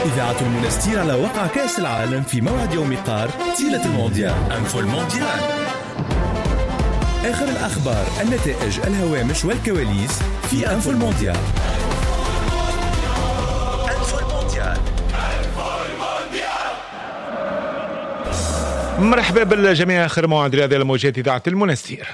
إذاعة المنستير على وقع كأس العالم في موعد يوم قار طيلة المونديال. info المونديال، آخر الأخبار، النتائج، الهوامش والكواليس في info المونديال. info المونديال. مرحبا بالجميع، آخر موعد رياضي على موجات إذاعة المنستير.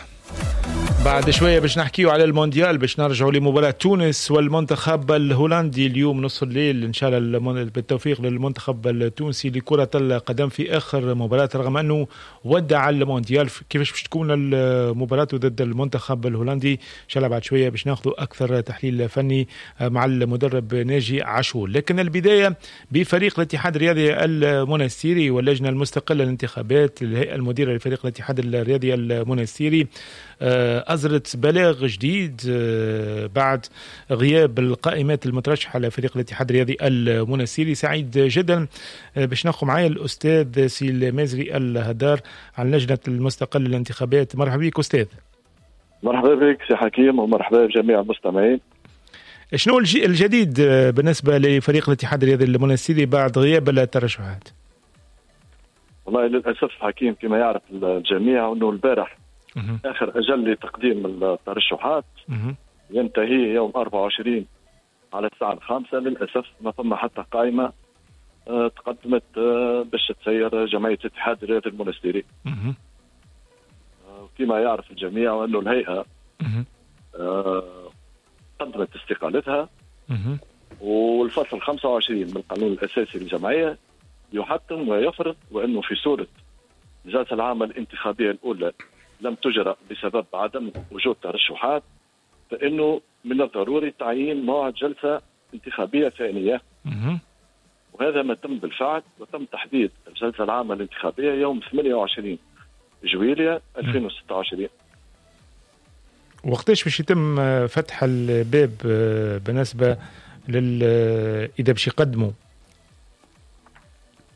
بعد شوية باش نحكيو على المونديال، باش نرجعوا لمباراة تونس والمنتخب الهولندي اليوم نصف الليل إن شاء الله. بالتوفيق للمنتخب التونسي لكرة القدم في آخر مباراة، رغم أنه ودع المونديال. كيفاش باش تكون المباراة ضد المنتخب الهولندي؟ إن شاء الله بعد شوية باش ناخذ أكثر تحليل فني مع المدرب ناجي عاشور. لكن البداية بفريق الاتحاد الرياضي المنستيري واللجنة المستقلة للانتخابات، الهيئة المديرة لفريق الاتحاد الرياضي المنستيري أصدرت بلاغ جديد بعد غياب القائمات المترشحة لفريق الاتحاد الرياضي المنستيري. سعيد جدا باش ناخذ معايا الأستاذ سي المازري الهدار عن لجنة المستقلة للانتخابات. مرحبا بك أستاذ. مرحبا بك سي حكيم ومرحبا بجميع المستمعين. شنو الجديد بالنسبة لفريق الاتحاد الرياضي المنستيري بعد غياب الترشحات؟ والله للأسف حكيم، كما يعرف الجميع أنه البارح آخر أجل لتقديم الترشحات ينتهي يوم 24 على الساعة 5. للأسف ما فما حتى قائمة تقدمت باش تسير جمعية الاتحاد الرياضي المنستيري. كما يعرف الجميع أنه الهيئة قدمت استقالتها، والفصل 25 من القانون الأساسي للجمعية يحتم ويفرض وأنه في صورة الجلسة العامة الانتخابية الأولى لم تجرى بسبب عدم وجود ترشحات، فإنه من الضروري تعيين موعد جلسة انتخابية ثانية. وهذا ما تم بالفعل، وتم تحديد الجلسة العامة الانتخابية يوم 28 جويلية 2026. وقتاش باش يتم فتح الباب بالنسبة لل إذا باش يقدموا؟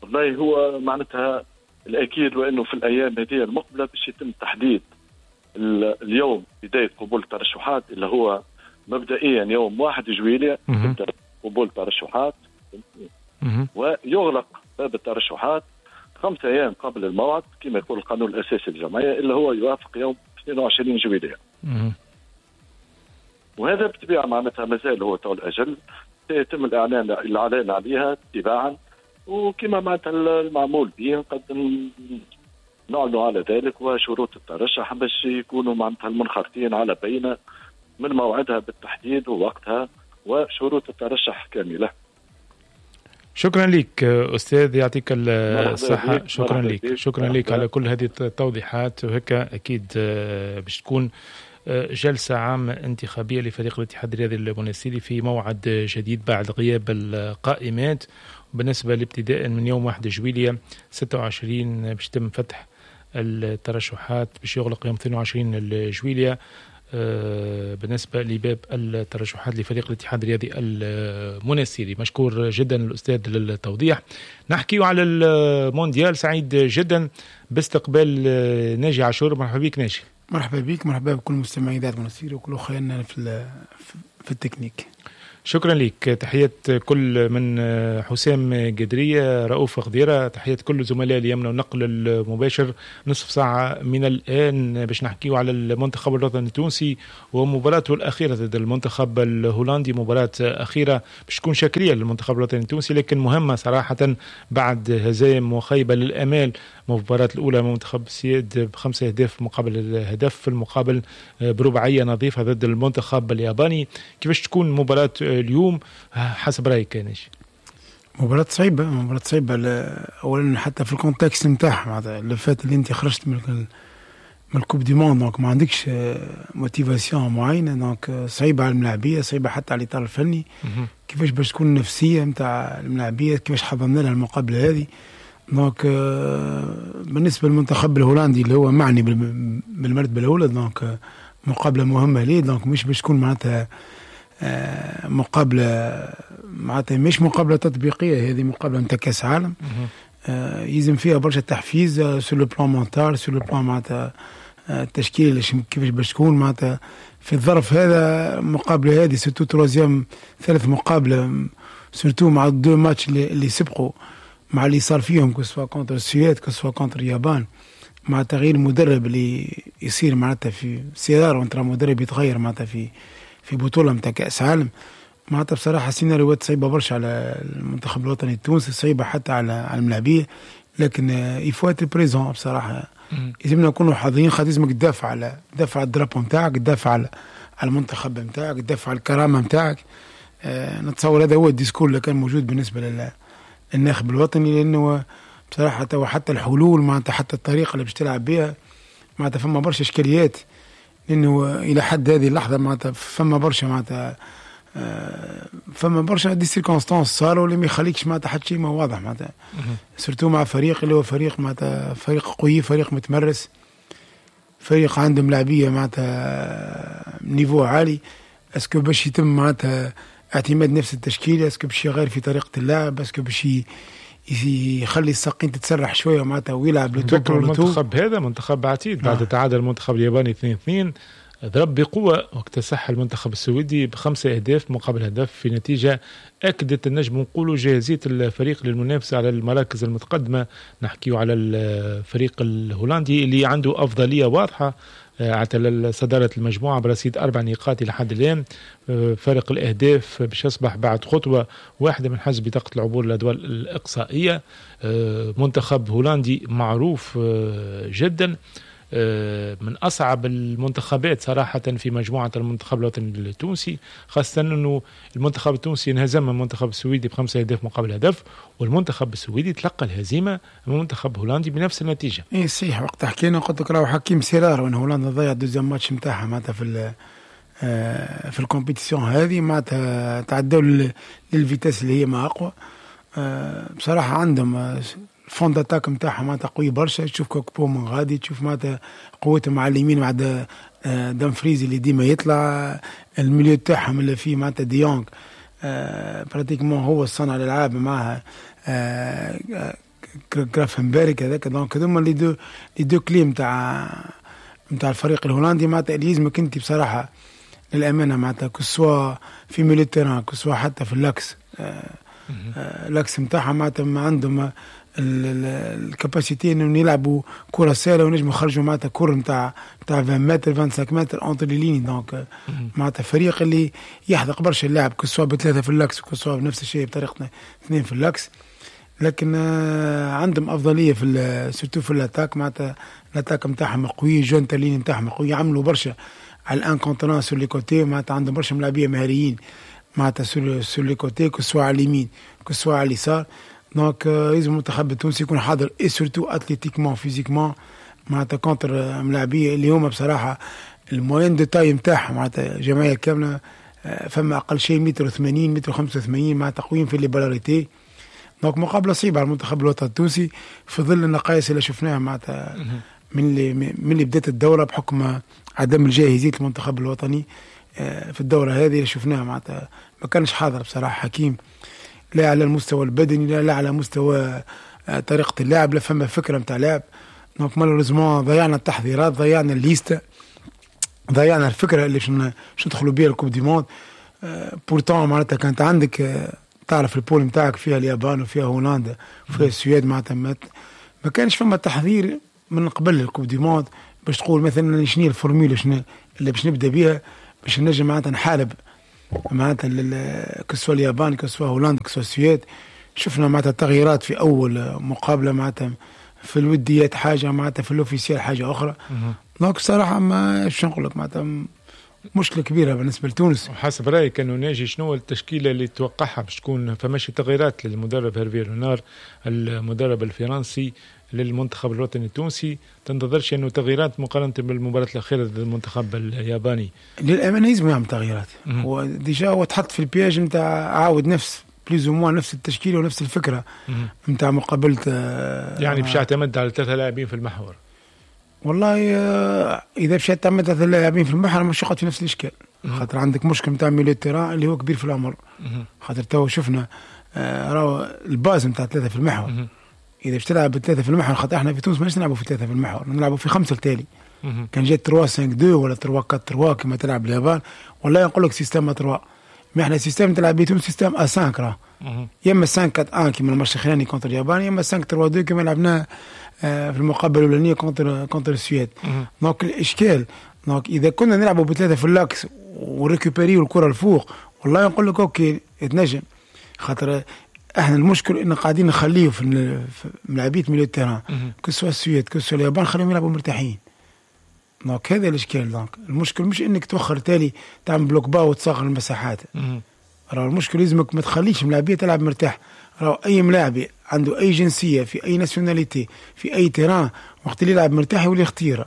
والله هو معناتها الأكيد وأنه في الأيام هذه المقبلة باش يتم تحديد اليوم بداية قبول الترشحات، اللي هو مبدئيا يوم 1 جويلية يبدأ قبول الترشحات، ويغلق باب الترشحات 5 أيام قبل الموعد كما يقول القانون الأساسي للجمعية، اللي هو يوافق يوم 22 جويلية. وهذا بالطبيعة معناتها مازال هو طول الأجل، سيتم الإعلان عليها تباعا، وكما معناتها المعمول به قد نعلن على ذلك، وشروط الترشح باش يكونوا معناتها المنخرطين على بينة من موعدها بالتحديد ووقتها وشروط الترشح كاملة. شكرا لك أستاذ، يعطيك الصحة. شكرا لك، شكرا لك على كل هذه التوضيحات. وهيك أكيد باش تكون جلسة عامة انتخابية لفريق الاتحاد الرياضي المنستيري في موعد جديد بعد غياب القائمات. بالنسبة لابتداء من يوم 1 جويلية 26 باش يتم فتح الترشحات، باش يغلق يوم 22 جويلية بالنسبة لباب الترشحات لفريق الاتحاد الرياضي المنستيري. مشكور جدا الأستاذ للتوضيح. نحكي على المونديال، سعيد جدا باستقبال ناجي عاشور. مرحبا بك ناجي. مرحبا بك، مرحبا بكل مستمعي إذاعة المنستير وكل أخواننا في التكنيك. شكرا لك، تحيات كل من حسام قدرية، رؤوف خضيرة، تحيات كل زملاء اليمنى والنقل المباشر. نصف ساعة من الآن باش نحكيو على المنتخب الوطني التونسي ومباراته الأخيرة ضد المنتخب الهولندي، مباراة أخيرة باش تكون شكلية للمنتخب الوطني التونسي لكن مهمة صراحة بعد هزائم وخيبة للأمال. المباراة الأولى منتخب السيد ب5 أهداف مقابل الهدف، في المقابل برباعية نظيفة ضد المنتخب الياباني. كيفاش تكون مباراة اليوم حسب رأيك ناجي؟ مباراة صعيبة، مباراة صعيبة. أولا حتى في ال contexte نتاعها، معناتها اللي فات اللي أنت خرجت من ال coupe du monde، donc ما عندكش motivation معينة، donc صعيبة على الملاعبية، صعيبة حتى على الإطار الفني. كيفاش باش تكون النفسية نتاع الملاعبية، كيفاش حضرنا لها المقابلة هذه. donc بالنسبة للمنتخب الهولندي اللي هو معني بالمرتبة الأولى، donc مقابلة مهمة ليه، donc مش باش تكون معناتها مقابلة، معناتها مش مقابلة تطبيقية، هذه مقابلة نتاع كأس عالم. يلزم فيها برشا تحفيز sur le plan mental، sur le plan معناتها التشكيل كيفاش باش تكون معناتها في الظرف هذا. المقابلة هذه surtout troisième، ثالث مقابلة surtout مع deux matchs اللي سبقوا، مع اللي صار فيهم، que ce soit contre السويد، que ce soit contre اليابان، مع تغيير المدرب اللي يصير معناتها في c'est rare وين ترى مدرب يتغير معناتها في بطوله نتاع كاس عالم. معناتها بصراحة سيناريوهات صعيبة برشا على المنتخب الوطني التونسي، صعيبة حتى على الملاعبيه، لكن il faut être présent. بصراحة لازمنا نكونوا حاضرين، خاطر لازمك تدافع على ال drapeau نتاعك، تدافع على المنتخب نتاعك، تدافع على الكرامة نتاعك. نتصور هذا هو ال discours اللي كان موجود بالنسبة للناخب الوطني، لانه بصراحة توا حتى الحلول معناتها حتى الطريقة اللي باش تلعب بها معناتها فما برشا اشكاليات، لانه الى حد هذه اللحظة معناتها فما برشا معناتها فما برشا des circonstances صاروا اللي ما يخليكش معناتها حتى شيء ما واضح معناتها، surtout مع فريق اللي هو فريق معناتها فريق قوي، فريق متمرس، فريق عندهم لاعبيه معناتها niveau عالي. est-ce que باش يتم معناتها اعتماد نفس التشكيله، est-ce que باش يغير في طريقه اللعب، est-ce que باش يخلي الساقين تتسرح شوية معناتها ويلعب le tout. المنتخب هذا منتخب عتيد بعد تعادل المنتخب الياباني 2-2، ضرب بقوة واكتسح المنتخب السويدي ب5 أهداف مقابل هدف، في نتيجة أكدت النجم نقولوا جاهزية الفريق للمنافسة على المراكز المتقدمة. نحكيو على الفريق الهولندي اللي عنده أفضلية واضحة على صدارة المجموعة برصيد 4 نقاط إلى حد الآن. فارق الأهداف باش يصبح بعد خطوة واحدة من حجز بطاقة العبور للأدوار الإقصائية. منتخب هولندي معروف جدا، من اصعب المنتخبات صراحة في مجموعة المنتخب الوطني التونسي، خاصة انه المنتخب التونسي انهزم من المنتخب السويدي ب5 اهداف مقابل هدف، والمنتخب السويدي تلقى الهزيمة من المنتخب الهولندي بنفس النتيجه. اي صحيح، وقت حكينا قلت لك راهو حكيم c'est rare وين هولندا ضيع deuxième match نتاعها معناتها في ال compétition هذه، معناتها تعدوا لل vitesse اللي هي ما اقوى. بصراحة عندهم ال fond d'attaque نتاعهم معناتها قوي برشا، تشوف كوكبو من غادي، تشوف معناتها قوتهم على اليمين مع دامفريز اللي ديما يطلع، ال milieu تاعهم اللي فيه معناتها ديونغ pratiquement هو صانع الالعاب معها جرافنبرغ هذاك. donc هذوما les deux clés نتاع الفريق الهولندي معناتها اللي يلزمك انت بصراحة للامانة معناتها que ce soit في milieu terrain، que ce soit حتى في l'axe l'axe نتاعهم معناتها ما عندهم ال capacité انهم يلعبوا كره سهلة ونجموا يخرجوا معناتها كره نتاع 20 متر، 25 متر entre les lignes. donc معناتها فريق اللي يحذق برشا اللعب، que ce soit بثلاثة في l'axe، que ce soit بنفس الشيء بطريقة اثنين في l'axe، لكن عندهم افضلية في surtout في l'attaque، معناتها l'attaque نتاعهم قوي، jeu entre les lignes نتاعهم قوي، يعملوا برشا على ال un contre un sur les côtés، معناتها عندهم برشا ملاعبيه مهاريين معناتها sur les côtés، que ce soit على اليمين، que ce soit على اليسار. donc لازم المنتخب التونسي يكون حاضر et surtout athlétiquement، physiquement معناتها contre ملاعبيه اللي هما بصراحة ال moyenne de taille نتاعهم معناتها جمعية كاملة فما اقل شيء متر 80، متر 85، معناتها قويين في les balles arrêtées. donc مقابله صعيبة على المنتخب الوطني التونسي في ظل النقائص اللي شفناها معناتها من اللي بدات الدوره، بحكم عدم الجاهزيه المنتخب الوطني في الدورة هذه اللي شفناها، معناتها ما كانش حاضر بصراحة حكيم، لا على المستوى البدني، لا على مستوى طريقه اللعب، لا فما فكرة نتاع لعب. donc malheureusement ضيعنا التحضيرات، ضيعنا ال liste، ضيعنا الفكرة اللي باش ندخلوا بها ال coupe du monde. pourtant معناتها كانت عندك تعرف ال poule نتاعك فيها اليابان وفيها هولندا وفيها السويد، معناتها ما كانش فما تحضير من قبل ال coupe du monde باش تقول مثلا شنو هي ال formule، شنو اللي باش نبدا بها باش نجم معناتها نحارب معناتها que ce soit اليابان، que ce soit هولندا، que ce soit السويد. شفنا معناتها تغييرات في اول مقابله، معناتها في الوديات حاجه، معناتها في l'officiel حاجة اخرى. donc بصراحة ما شو نقول لك، معناتها مشكلة كبيرة بالنسبة لتونس. وحسب رايك انه ناجي شنو التشكيلة اللي توقعها باش تكون؟ فماشي تغييرات للمدرب هيرفي رونار المدرب الفرنسي للمنتخب الوطني التونسي؟ تنتظرش انه تغييرات مقارنة بالمباراة الاخيرة ضد المنتخب الياباني؟ للامانة لازم يعمل تغييرات. هو déjà هو تحط في ال piège نتاع عاود نفس plus ou moins نفس التشكيلة ونفس الفكرة نتاع مقابله. يعني باش يعتمد على ثلاثة لاعبين في المحور؟ والله اذا باش يعتمد ثلاثة لاعبين في المحور مش يقعد في نفس الاشكال، خاطر عندك مشكل نتاع milieu terrain اللي هو كبير في العمر، خاطر تو شفنا راهو ال base نتاع ثلاثة في المحور. اذا باش تلعب بثلاثة في المحور، خاطر احنا في تونس ماناش نلعبوا في ثلاثة في المحور، نلعبوا في خمسة التالي. كان جات 3 5 2 ولا 3 4 3 كما تلعب اليابان، والله نقول لك système 3. ما احنا système تلعب بيه تونس système à 5 راه، يا اما 5 4 1 كيما الماتش الاخراني contre اليابان، يا اما 5 3 2 كيما لعبناه في المقابلة الاولانية contre السويد. donc الاشكال donc اذا كنا نلعبوا بثلاثة في l'axe و récupérer الكره الفوق، والله نقول لك OK تنجم، خاطر احنا المشكل ان قاعدين نخليه في ملاعبيه milieu terrain، que ce soit السويد que ce soit اليابان، خليهم يلعبوا مرتاحين. donc هذا الاشكال. donc المشكل مش انك توخر تالي تعمل bloc bas وتصغر المساحات، راه المشكل لازمك ما تخليش ملاعبيه تلعب مرتاح. راه اي ملاعبي عنده اي جنسية في اي nationalité في اي terrain، وقت اللي يلعب مرتاح يولي خطيرة.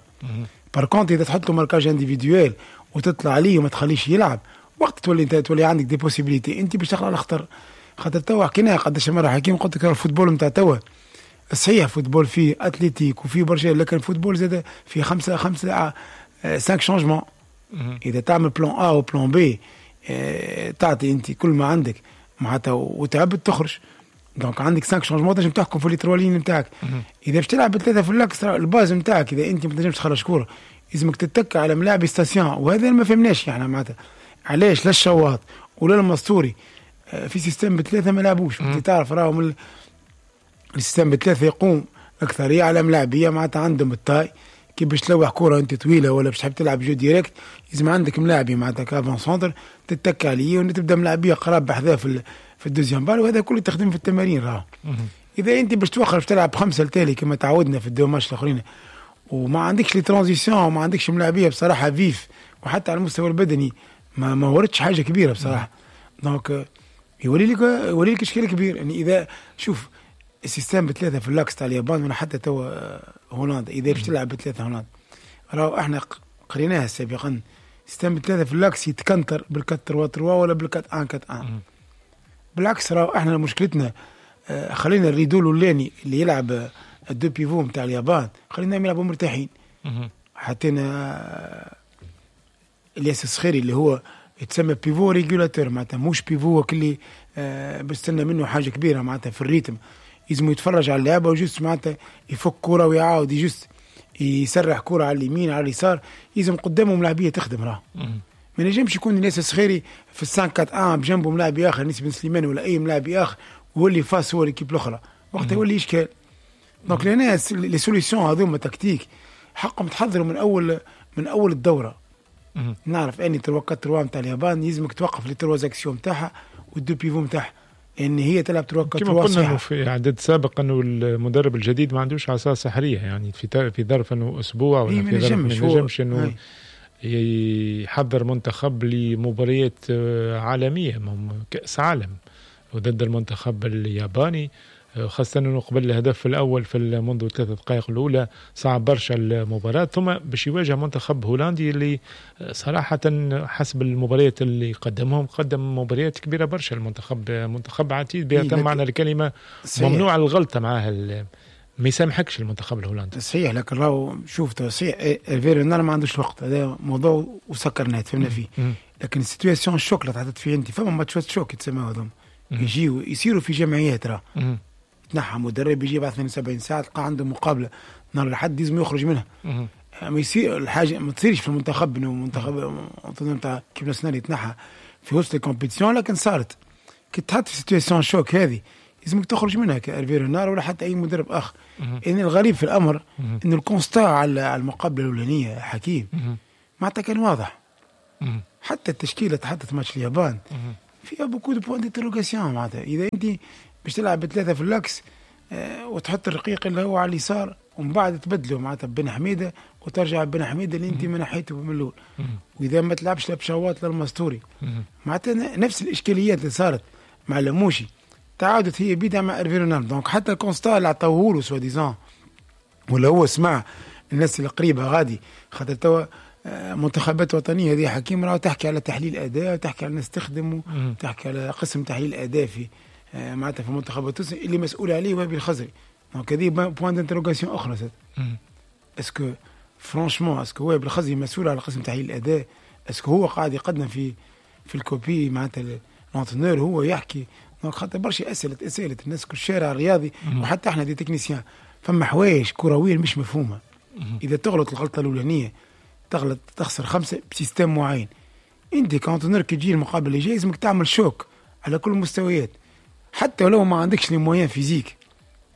par contre اذا تحط له marquage individuel وتطلع عليه وما تخليش يلعب، وقت تولي انت تولي عندك des possibilités انت باش تخلق الخطر. خاطر توا حكيناها قداش مرة حكيم، قلت لك ال football نتاع توا صحيح football فيه athlétique وفيه برشا، لكن ال football زاد فيه خمسة خمسة cinq changements. اذا تعمل plan A و plan B، تعطي انت كل ما عندك معناتها وتعبت تخرج. donc عندك 5 changements تنجم تحكم في les trois lignes نتاعك. اذا باش تلعب بثلاثة في l'axe، ال base نتاعك اذا انت ما تنجمش تخرج كورة لازمك تتكى على ملاعب station، وهذا ما فهمناش يعني معناتها علاش لا الشواط ولا المستوري في système بثلاثة ما لعبوش. انت تعرف راهم ال système بثلاثة يقوم اكثرية على ملاعبيه معناتها عندهم ال taille، كي باش تلوح كره انت طويلة ولا باش تحب تلعب jeu direct لازم عندك ملاعبي معناتها ك avant-centre تتكى عليه وتبدا ملاعبيه قراب بحذاه في ال deuxième balle، وهذا كله تخدم في التمارين راه. اذا انت باش توخر باش تلعب خمسة التالي كما تعودنا في ال deux matchs الاخرين وما عندكش les transitions وما عندكش ملاعبيه بصراحة vifs، وحتى على المستوى البدني ما وردش حاجة كبيرة بصراحة، donc يولي لك اشكال كبير. يعني اذا شوف ال système بثلاثة في l'axe تاع اليابان ولا حتى تو هولندا، اذا باش تلعب بثلاثة هولندا، راهو احنا قريناها سابقا، système بثلاثة في l'axe يتكنتر بال 4 3 3 ولا بال 4 1 4 1. بالعكس راهو احنا مشكلتنا خلينا ال rideau الاولاني اللي يلعب ال deux pivots نتاع اليابان خليناهم يلعبوا مرتاحين. حطينا الياس الصخيري اللي هو يتسمى pivot régulateur، معناتها مش pivot اللي بستنى منه حاجة كبيرة معناتها في ال rythme، لازم يتفرج على اللعبة و juste معناتها يفك كره ويعاود juste يسرح كره على اليمين على اليسار، لازم قدامه ملاعبيه تخدم. راه ما نجمش يكون الياس الصخيري في ال 5 4 1 بجنبه ملاعبي اخر انيس بن سليمان ولا اي ملاعبي اخر وهو اللي face هو l'équipe الاخرى، وقتها يولي اشكال. donc لهنا les solutions هذوما tactiques حقهم تحضروا من اول الدوره. نعرف اني 3 4 3 نتاع اليابان يلزمك توقف les trois axiaux نتاعها وال deux pivots نتاعها، ان هي تلعب 3 4 كما قلنا انه في اعداد سابق انه المدرب الجديد ما عندوش عصا سحريه، يعني في ظرف انه اسبوع ولا في ظرف ما ينجمش انه يحضر منتخب لمباريات عالميه، كاس عالم وضد المنتخب الياباني، خاصة أنه قبل الهدف الأول في منذ 3 دقائق الأولى صعب برشا المباراة، ثم باش يواجه منتخب هولندي اللي صراحة حسب المباريات اللي قدمهم قدم مباريات كبيرة برشا. المنتخب منتخب عتيد بأتم معنى الكلمة، ممنوع الغلطة معاه، ما يسامحكش المنتخب الهولندي. صحيح، لكن راهو شوف، صحيح ايرفي رونار ما عندوش وقت، هذا موضوع وسكرناه فهمنا فيه، لكن ال situation choc اللي تحطت فيه انت، فما ماتشات choc يتسموا هذوما يجيو يصيروا في جمعيات، راه تنحى مدرب يجي بعد 72 ساعة تلقى عنده مقابله نهار الاحد لازم يخرج منها. ما يصير الحاجة ما تصيرش في المنتخب انه منتخب نتاع équipe nationale يتنحى في وسط ال compétition، لكن صارت. كي تحط في situation choc هذه لازمك تخرج منها كإرفي رونار ولا حتى اي مدرب اخر. ان الغريب في الامر انه ال constat على المقابلة الاولانية حكيم معناتها كان واضح، حتى التشكيلة تحطت ماتش اليابان فيها beaucoup de points d'interrogation. معناتها اذا انت باش تلعب بثلاثة في l'axe وتحط الرقيق اللي هو على اليسار ومن بعد تبدله معناتها بن حميده وترجع بن حميده اللي انت ما نحيته من الاول، واذا ما تلعبش لا بشواط لا المستوري، معناتها نفس الاشكاليات اللي صارت مع لموشي تعادت هي بيدها مع ارفي رونار. donc حتى ال constat اللي عطاوه له soi-disant ولا هو سمع الناس اللي قريبه غادي، خاطر توا منتخبات وطنية هذه حكيم راه تحكي على تحليل اداء وتحكي على الناس تخدم وتحكي على قسم تحليل اداء في معناتها في المنتخب التونسي اللي مسؤول عليه وهبي الخزري. donc هذه point d'interrogation اخرى زاد، est-ce que franchement est-ce que وهبي الخزري مسؤول على قسم تحليل الاداء؟ est-ce que هو قاعد يقدم في ال copie معناتها l'entraîneur هو يحكي؟ donc خاطر برشا اسئلة اسئلة الناس كل الشارع الرياضي وحتى احنا des techniciens، فما حوايج كروية مش مفهومه. اذا تغلط الغلطة الاولانية تغلط تخسر 5 ب système معين. انت ك entraîneur كي تجي المقابلة اللي جاي لازمك تعمل choc على كل المستويات، حتى ولو ما عندكش les moyens physiques.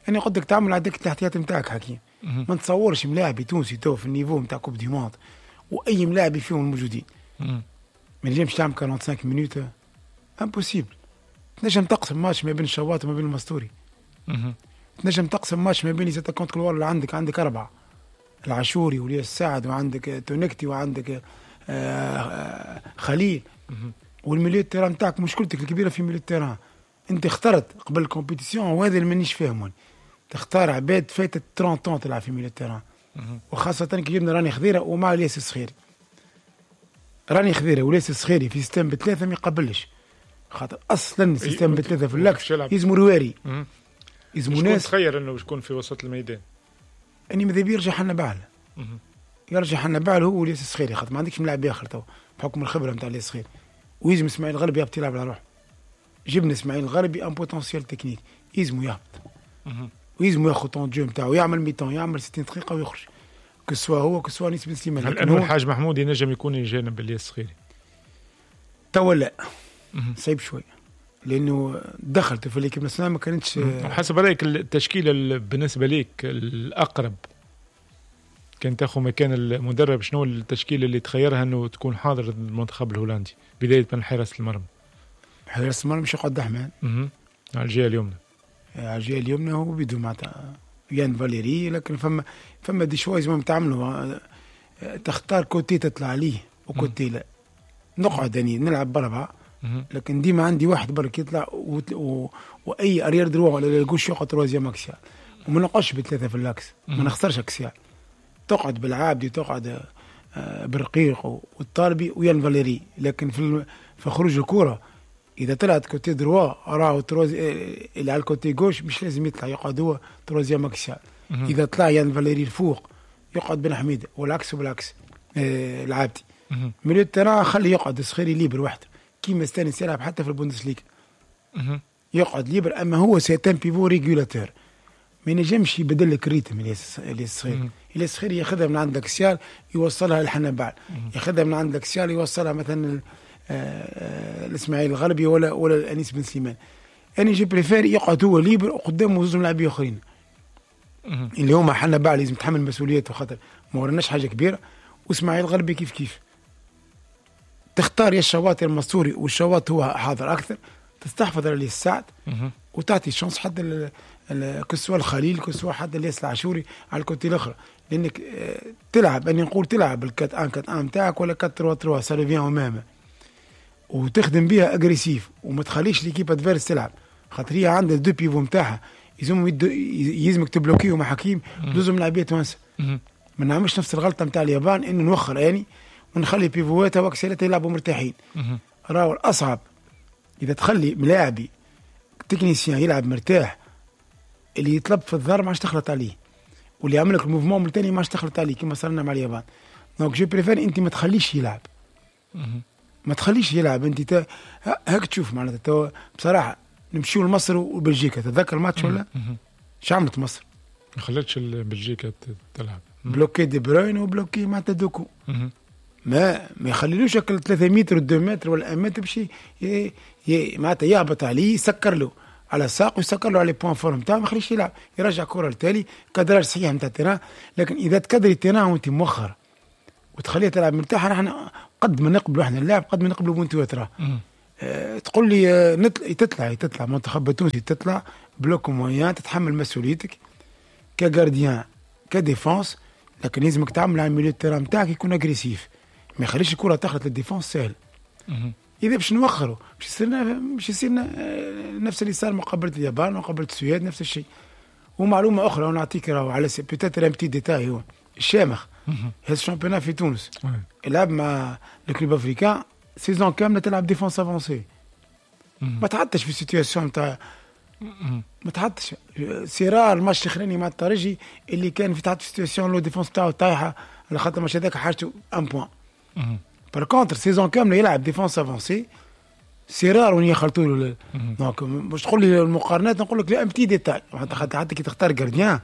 انا قلت لك تعمل عندك الاحتياط نتاعك حكيم. ما نتصورش ملاعبي تونسي تو في ال niveau نتاع coupe du monde واي ملاعبي فيهم الموجودين ما نجمش تعمل 45 minutes، impossible. تنجم تقسم ماتش ما بين الشواط وما بين المستوري، تنجم تقسم ماتش ما بين les attaquants couloir اللي عندك اربعة، العاشوري ولياس السعد وعندك تونكتي وعندك خليل. وال milieu terrain نتاعك مشكلتك الكبيرة في milieu terrain. انت اخترت قبل ال compétition، وهذا اللي مانيش فاهمه، تختار عباد فاتت 30 ans تلعب في milieu terrain، وخاصة كي جبنا راني خضيره ومع الياس الصخيري. راني خضيره والياس الصخيري في système بثلاثة ما يقبلش، خاطر اصلا système بثلاثة في l'axe يلزموا رواري، يلزموا ناس. تخير انه يكون في وسط الميدان؟ اني ماذا بيا يرجع حنبعل، يرجع حنبعل هو والياس الصخيري، خاطر ما عندكش ملاعب اخر تو بحكم الخبرة نتاع الياس الصخيري. ويلزم اسماعيل الغربي يهبط يلعب على روحه. جبنا اسماعيل الغربي un potentiel technique، يلزمو يهبط ويلزمو ياخذ temps de jeu نتاعو، يعمل mi-temps، يعمل 60 دقيقة ويخرج، que ce soit هو que ce soit انيس بن سليمان. هل انه الحاج محمود ينجم يكون جانب الياس الصخيري؟ توا لا، صعيب شوية، لانه دخلت في l'équipe nationale ما كانتش. حسب رايك التشكيلة بالنسبة ليك الاقرب كان تاخذ مكان المدرب، شنو التشكيلة اللي تخيرها انه تكون حاضر المنتخب الهولندي بداية من حراسة المرمى؟ حراسة المرمى مش يقعد دحمان على الجهة اليمنى. على الجهة اليمنى هو بيدو معناتها يان فاليري، لكن فما des choix لازم تعملوا، تختار côté تطلع عليه و côté لا. نقعد يعني نلعب باربعة، لكن ديما عندي واحد برك يطلع واي arrière droit ولا gauche يقعد troisième axial، وما نقعدش بثلاثة في l'axe، ما نخسرش axial. تقعد بالعابدي، تقعد بالرقيق والطالبي ويان فاليري، لكن في خروج الكره اذا طلعت côté droit راهو اللي على ال côté gauche مش لازم يطلع، يقعد هو troisième axial. اذا طلع يان فاليري الفوق يقعد بن حميده، والعكس وبالعكس العابدي. milieu terrain خليه يقعد الصخيري libre وحده كيما استانس يلعب حتى في البوندسليغا، يقعد libre. اما هو c'est un pivot régulateur، ما ينجمش يبدل لك ال rythme الياس الصخيري. الياس الصخيري ياخذها من عند l'axial يوصلها لحنبعل، ياخذها من عند l'axial يوصلها مثلا الاسماعيل الغربي ولا الانيس بن سليمان. انا je préfère يقعد هو libre وقدامه زوج لاعبين اخرين اللي هما حنبعل لازم يتحمل مسؤوليته خاطر ما ورناش حاجة كبيرة، واسماعيل الغربي كيف كيف. تختار يا الشواط المستوري، والشواط هو حاضر اكثر، تستحفظ على السعد وتعطي chance حتى que ce soit الخليل que ce soit حتى الياس العاشوري على ال côté الاخر، لانك تلعب اني نقول تلعب ال 4 1 4 1 نتاعك ولا 4 3 3 ça revient au même، وتخدم بها agressif وما تخليش l'équipe adverse تلعب، خاطر هي عندها deux pivots نتاعها يلزمك تبلوكيو مع حكيم لازم لاعبيه توانسة. ما نعملش نفس الغلطة نتاع اليابان انه نوخر يعني ونخلي بيفواتها واكسيلاتها يلعبوا مرتاحين. راهو الاصعب اذا تخلي ملاعبي technicien يلعب مرتاح، اللي يطلب في الظهر ما عادش تخلط عليه، واللي يعمل لك ال mouvement الثاني ما عادش تخلط عليه كما صار لنا مع اليابان. donc je préfère انت ما تخليش يلعب، ما تخليش يلعب انت هاك تشوف معناتها. بصراحة نمشيو لمصر وبلجيكا، تتذكر الماتش ولا؟ شو عملت مصر؟ ما خلتش بلجيكا تلعب، bloquer دي بروين و bloquer معناتها دوكو، ما يخليلوش 3 متر 2 متر ولا 1 متر باش معناتها يهبط عليه، يسكر له على الساق ويسكر له على points forts نتاعو، ما يخليش يلعب، يرجع كره لتالي، cadrage صحيح نتاع ال terrain. لكن اذا تكدري ال terrain وانت مؤخر وتخليه تلعب مرتاح، نحن قد ما نقبلوا احنا اللاعب قد ما نقبلوا بونتوات راه. تقول لي تطلع منتخب التونسي تطلع bloc moyen، تتحمل مسؤوليتك ك gardien ك défense، لكن لازمك تعمل على milieu terrain نتاعك يكون agressif، ما يخليش الكره تخلط لل défense سهل. اذا باش نوخروا باش يصير نفس اللي صار مقابله اليابان ومقابله السويد نفس الشيء. ومعلومه اخرى ونعطيك راهو على peut-être un petit détail، هو الشامخ هز ال championnat في تونس، لعب مع ال Club Africain saison كاملة تلعب défense avancée، ما تحطش في situation تاع ما تحطش c'est rare الماتش الاخراني مع الترجي اللي كان في تحت situation la défense تاعو طايحة على خاطر الماتش هذاك حاجته un point. par contre saison كاملة يلعب défense avancée، c'est rare وين يخلطوا له. donc باش تقول لي المقارنات نقول لك لا un petit détail، حتى كي تختار gardien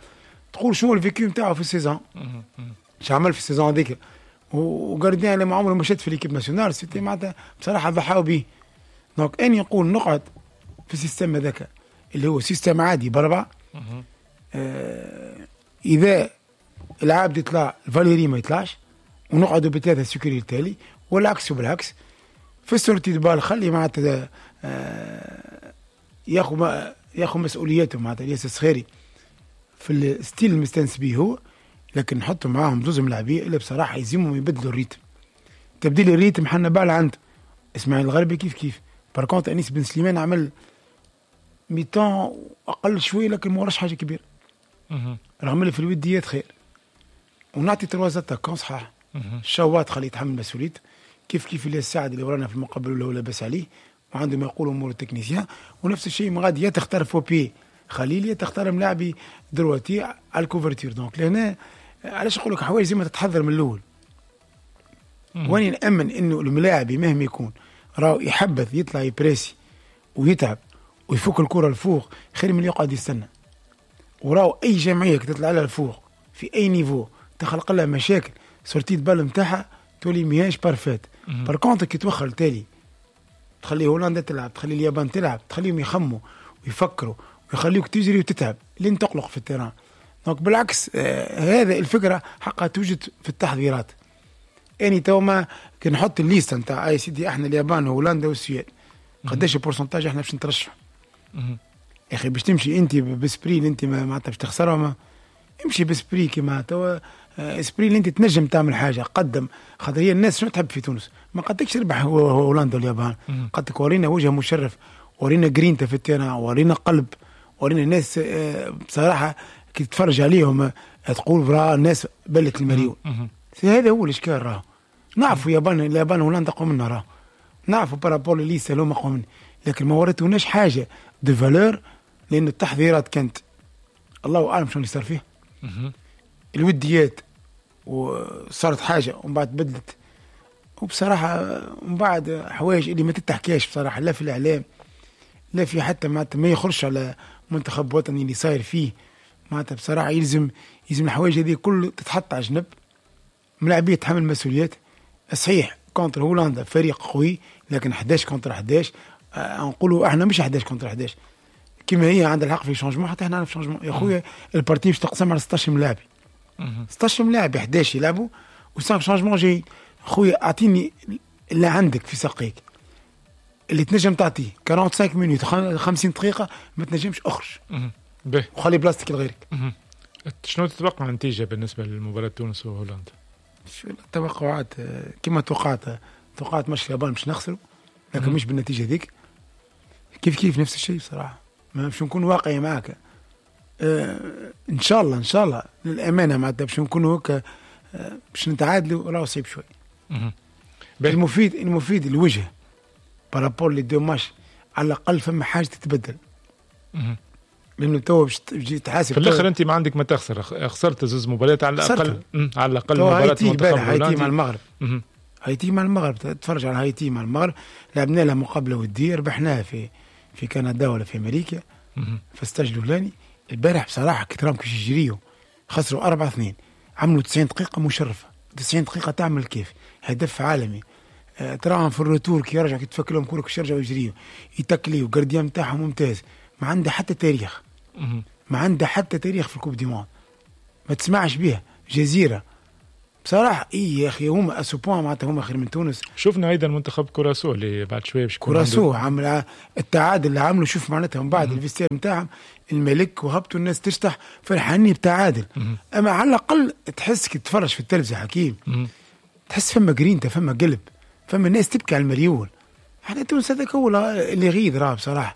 تقول شنو ال vécu نتاعو في ال saison، اش عمل في ال saison هذيك. و gardien اللي ما عمره ما شد في l'équipe nationale، c'était معناتها بصراحة ضحاو به. donc اني نقول نقعد في ال système هذاك اللي هو système عادي باربعة. اذا العابد يطلع فاليري ما يطلعش، ونقعدوا بثلاثة sécurité التالي، والعكس وبالعكس. في sortie de balle خلي معناتها ياخذ مسؤوليته معناتها الياس الصخيري في ال style المستانس به هو، لكن نحطوا معاهم زوز ملاعبيه اللي بصراحة يلزمهم يبدلوا ال rythme. تبديل ال rythme حنا بال عند اسماعيل الغربي كيف كيف. par contre انيس بن سليمان عمل mi-temps اقل شوية، لكن ما وراش حاجة كبيرة، رغم اللي في الوديات خير. ونعطي trois attaquants صحاح، شوات خليه يتحمل مسؤوليته، كيف كيف اللي السعد اللي ورانا في المقابل اللي هو لاباس عليه وعنده ما يقول امور ال technicien. ونفس الشيء من غادي يا تختار faux pied خليل يا تختار ملاعبي droitier على ال couverture. donc لهنا علاش نقول لك حوايج زي ما تتحضر من الاول. واني نامن انه الملاعبي مهما يكون راهو يحبذ يطلع يبريسي ويتعب ويفك الكره الفوق خير من اللي يقعد يستنى. وراو اي جمعية تطلع لها الفوق في اي niveau تخلق لها مشاكل، sortie de balle نتاعها تولي ماهيش parfaite. par contre كي توخر تالي تخلي هولندا تلعب، تخلي اليابان تلعب، تخليهم يخموا ويفكروا ويخليوك تجري وتتعب لين تقلق في ال terrain. donc بالعكس هذا الفكرة حقها توجد في التحضيرات. يعني تو ما كي نحط ال liste نتاع اي سيدي احنا اليابان وهولندا والسويد قداش ال pourcentage احنا باش نترشحوا. يا اخي باش تمشي انت ب esprit اللي انت معناتها باش تخسرهم، امشي ب esprit كيما توا esprit اللي انت تنجم تعمل حاجة قدم. خاطر هي الناس شنو تحب في تونس؟ ما قدكش تربح هولندا واليابان، قدك ورينا وجه مشرف، ورينا جرينتا في ال terrain، ورينا قلب، ورينا ناس بصراحة كي تتفرج عليهم تقول برا الناس بلت المليون. هذا هو الاشكال. راه نعرفوا اليابان وهولندا اقوى منا، راه نعرفوا par rapport liste اللي هما اقوى منا، لكن ما وريتوناش حاجة de valeur، لان التحضيرات كانت الله اعلم شنو اللي صار فيه. الوديات وصارت حاجة ومن بعد بدلت، وبصراحة من بعد حوايج اللي ما تتحكاش بصراحة لا في الاعلام لا في حتى معناتها ما يخرجش على منتخب وطني اللي صاير فيه. معناتها بصراحة يلزم الحوايج هذه كل تتحط على جنب، ملاعبيه تحمل مسؤوليات. صحيح contre هولندا فريق قوي، لكن 11 contre 11 نقولوا احنا مش 11 contre 11 كما هي عندها الحق في changement، حتى احنا في changement يا خويا. ال partie باش تقسم على 16 ملاعب، 16 ملاعب 11 يلعبوا و5 changements جاي. خويا اعطيني اللي عندك في ساقيك اللي تنجم تعطيه 45 minutes 50 دقيقة، ما تنجمش اخرج وخلي بلاصتك لغيرك. شنو تتوقع النتيجة بالنسبة لمباراة تونس وهولندا؟ التوقعات كما توقعت ماتش اليابان باش نخسروا، لكن مش بالنتيجة ذيك. كيف كيف نفس الشيء بصراحة، ما باش نكون واقعي معك. ان شاء الله ان شاء الله للامانة معناتها باش نكونوا هكا باش نتعادلوا راهو صعيب شوي. المفيد الوجه par rapport les deux matchs على الاقل فما حاجة تتبدل. لانه تو باش تجي تحاسب في الاخر انت ما عندك ما تخسر، خسرت زوز مباريات على الاقل، على الاقل مباراة المنتخب هايتي مع المغرب. هايتي مع المغرب تتفرج على هايتي مع المغرب، لعبنا لها مقابله وديه ربحناها في كندا ولا في امريكا في ال stage الاولاني. البارح بصراحة كي كيش يجريو خسروا 4-2، عملوا 90 دقيقة مشرفة، 90 دقيقة تعمل كيف هدف عالمي. تراهم في ال retour كي يرجع كي تفك لهم كورة كيش يرجعوا يجريو يتكليو، gardien نتاعهم ممتاز، ما عنده حتى تاريخ، ما عنده حتى تاريخ في ال coupe du monde، ما تسمعش بها جزيرة بصراحة. اي يا اخي هما à ce point معناتها هما خير من تونس. شفنا ايضا منتخب كوراسو اللي بعد شوية باش كوراسو عمل التعادل اللي عملوا، شوف معناتها من بعد ال vestiaire نتاعهم الملك وهبطوا الناس تشتح فرحانين بتعادل. اما على الاقل تحس كي تتفرج في التلفزة حكيم تحس فما جرينتا، فما قلب، فما ناس تبكي على المليون. احنا تونس هذاك هو اللي غيظ راه بصراحة،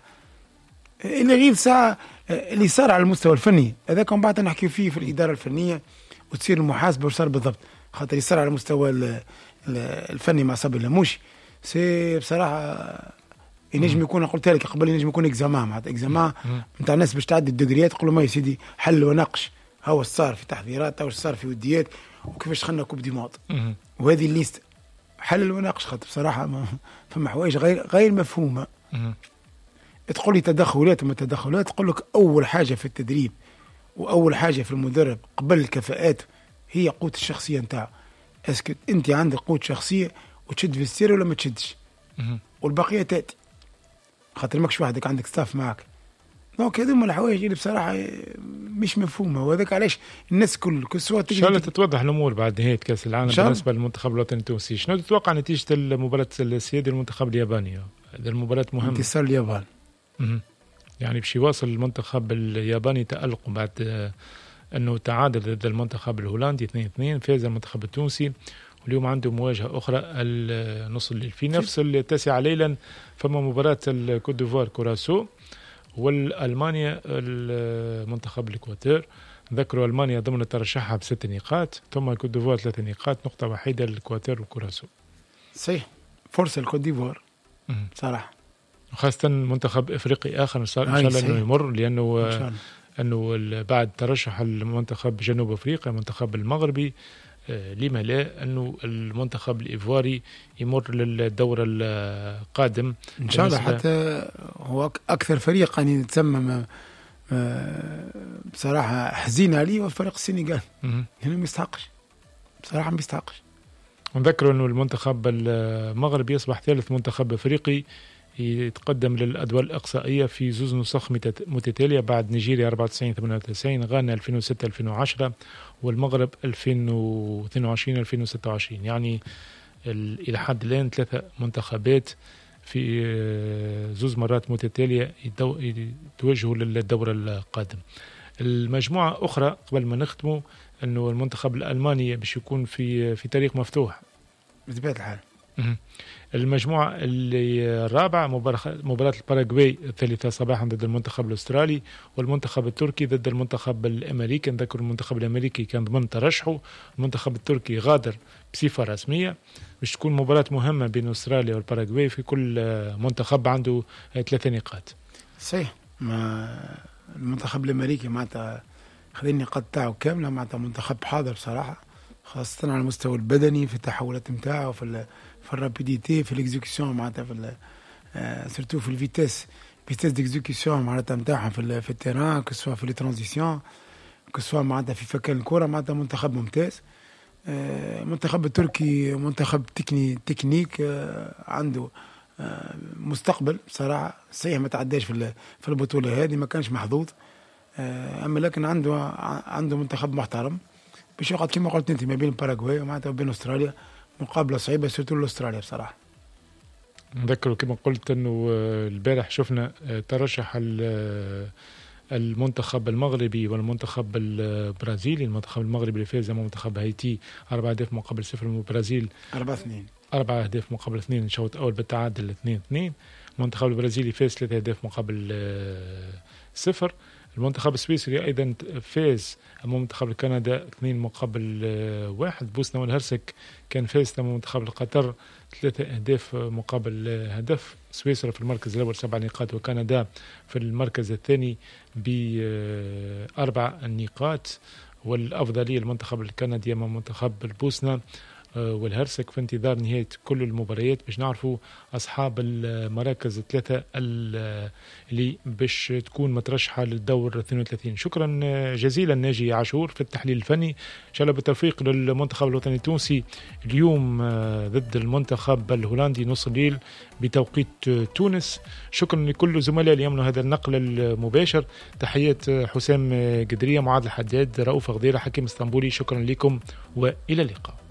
اللي غيظ ساعة اللي صار على المستوى الفني هذاك من بعد نحكي فيه في الادارة الفنية وتصير المحاسبة وصار بالضبط، خاطر يصير على المستوى الفني مع صبري لموشي c'est بصراحة ينجم يكون، قلت لك قبل، ينجم يكون examen معناتها examen نتاع الناس باش تعدي الدوغريات، تقول ما يا سيدي حل وناقش هو صار في تحضيرات او صار في وديات وكيفاش دخلنا coupe du monde وهذه ال liste حل وناقش، خاطر بصراحة ما فما حوايج غير مفهومه. تقول لي تدخلات وما تدخلات، تقول لك اول حاجة في التدريب واول حاجة في المدرب قبل الكفاءات هي قوة الشخصية نتاعو. est-ce que انت عندك قوة شخصية وتشد vestiaire ولا ما تشدش، والبقية تاتي خاطر ماكش وحدك، عندك staff معك. donc هذوما الحوايج اللي بصراحة مش مفهومه، وهذاك علاش الناس كل que ce soit ان شاء الله تتوضح الامور بعد نهاية كاس العالم بالنسبة للمنتخب الوطني التونسي. شنو تتوقع نتيجة المباراة السيادي المنتخب الياباني؟ هذه المباراة مهمة. انتصار اليابان. يعني باش يواصل المنتخب الياباني تألقه بعد انه تعادل ضد المنتخب الهولندي 2-2، فاز المنتخب التونسي، واليوم عنده مواجهة أخرى النص الليل في نفس 9 ليلا. فما مباراة الكوت ديفوار كوراسو والألمانيا المنتخب الإكواتور. ذكروا ألمانيا ضمن ترشحها ب6 نقاط، ثم الكوت ديفوار 3 نقاط، نقطة وحيدة للإكواتور والكوراسو. صحيح، فرصة الكوت ديفوار صراحة، وخاصة منتخب إفريقي آخر إن شاء الله أنه يمر، لأنه أنه بعد ترشح المنتخب جنوب أفريقيا المنتخب المغربي، لما لا أنه المنتخب الإيفواري يمر للدور القادم إن شاء الله. حتى هو أكثر فريق يعني تسمى بصراحة حزين عليه هو فريق السنغال، لأنه ما يستحقش بصراحة، ما يستحقش. ونذكر أنه المنتخب المغربي يصبح ثالث منتخب أفريقي يتقدم للأدوار الإقصائية في زوز نسخ متتالية بعد نيجيريا 94-98، غانا 2006-2010، والمغرب 2022-2026. يعني إلى حد الآن 3 منتخبات في زوز مرات متتالية يتوجهوا للدور القادم. المجموعة أخرى قبل ما نختموا أنه المنتخب الألماني باش يكون في طريق مفتوح بطبيعة الحال. المجموعة اللي الرابعة مباراة الباراغواي 3 صباحا ضد المنتخب الأسترالي، والمنتخب التركي ضد المنتخب الأمريكي. نذكر المنتخب الأمريكي كان ضمن ترشحه، المنتخب التركي غادر بصفة رسمية. باش تكون مباراة مهمة بين أستراليا والباراغواي، في كل منتخب عنده 3 نقاط. صحيح، ما المنتخب الأمريكي معناتها خذ النقاط تاعو كاملة، معناتها منتخب حاضر بصراحة، خاصة على المستوى البدني في التحولات نتاعو، في ال rapidité، في l'exécution معناتها، في surtout في ال vitesse d'exécution معناتها نتاعهم في ال terrain، que ce soit في les transitions، que ce soit معناتها في فكان الكره، معناتها منتخب ممتاز. المنتخب التركي منتخب تكنيك عنده مستقبل بصراحة. صحيح ما تعداش في البطولة هذه، ما كانش محظوظ، اما لكن عنده منتخب محترم باش يقعد كما قلت انت ما بين الباراغواي ومعناتها وبين استراليا، مقابله صعيبة surtout لاستراليا بصراحة. نذكر كما قلت انه البارح شفنا ترشح المنتخب المغربي والمنتخب البرازيلي. المنتخب المغربي اللي فاز امام منتخب هايتي 4 أهداف مقابل 0، والبرازيل 4-2، 4 أهداف مقابل 2 الشوط الاول بالتعادل 2-2. المنتخب البرازيلي فاز 3 أهداف مقابل 0. المنتخب السويسري أيضا فاز أمام منتخب كندا 2-1. بوسنة والهرسك كان فاز أمام منتخب القطر 3 أهداف مقابل هدف. سويسرا في المركز الأول 7 نقاط، وكندا في المركز الثاني ب4 نقاط، والأفضلية المنتخب الكندي أمام منتخب البوسنة والهرسك. في انتظار نهاية كل المباريات باش نعرفوا أصحاب المراكز 3 اللي باش تكون مترشحة للدور 32. شكرا جزيلا ناجي عاشور في التحليل الفني. إن شاء الله بالتوفيق للمنتخب الوطني التونسي اليوم ضد المنتخب الهولندي نص الليل بتوقيت تونس. شكرا لكل زملائي اللي يعملوا هذا النقل المباشر. تحيات حسام قدرية، معاذ الحداد، رؤوف غديرة، حكيم اسطنبولي. شكرا لكم وإلى اللقاء.